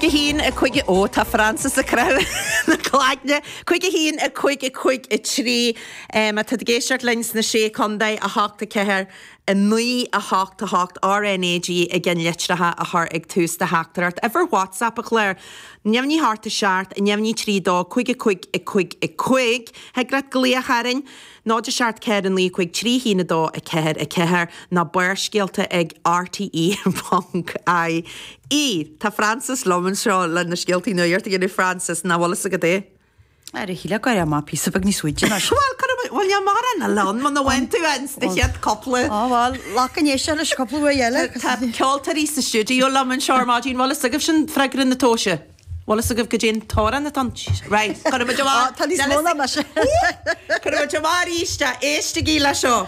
5 1 5 Ó tá Francis ag croitheadh na cloigne. 5 1 5 5 3 Má tá tú ag éisteacht linn sna Sé Chontae, 8 4 9 8 8 RNAG i gceannlitreacha a chur ag tús do theachtaireacht. Uimhir WhatsApp an chláir, neamhní 8 7 neamhní 3 2 5 5 5 5. Thig leat glaoch orainn, 0 7 4 9 5 3 1 2 4 4 nó Barrscéalta ag RTÉ ponc IE. Tá Frances liom anseo le na scéaltaí nuachta a dhéanamh Frances, nach bhfuil fhios agat é? Ar a shíle go raibh mé píosa beag níos faide ná sin. Bhuel, cuirfidh mé, bhuel, níl mórán eile ann muna bhfaigheann tú ins na chéad cúpla. Á, bhuel, glac an éisteacht leis cúpla uair eile. Tá ceoltóirí sa stiúideo liom anseo ar maidin, bhfuil fhios agaibh sin freagra na tomhaise? Bhfuil fhios agaibh goidé an t-amhrán atá ann? Right, cuirfidh muid amach. Tá níos mó ná mise. Cuirfidh muid amach arís é, éistigí le seo.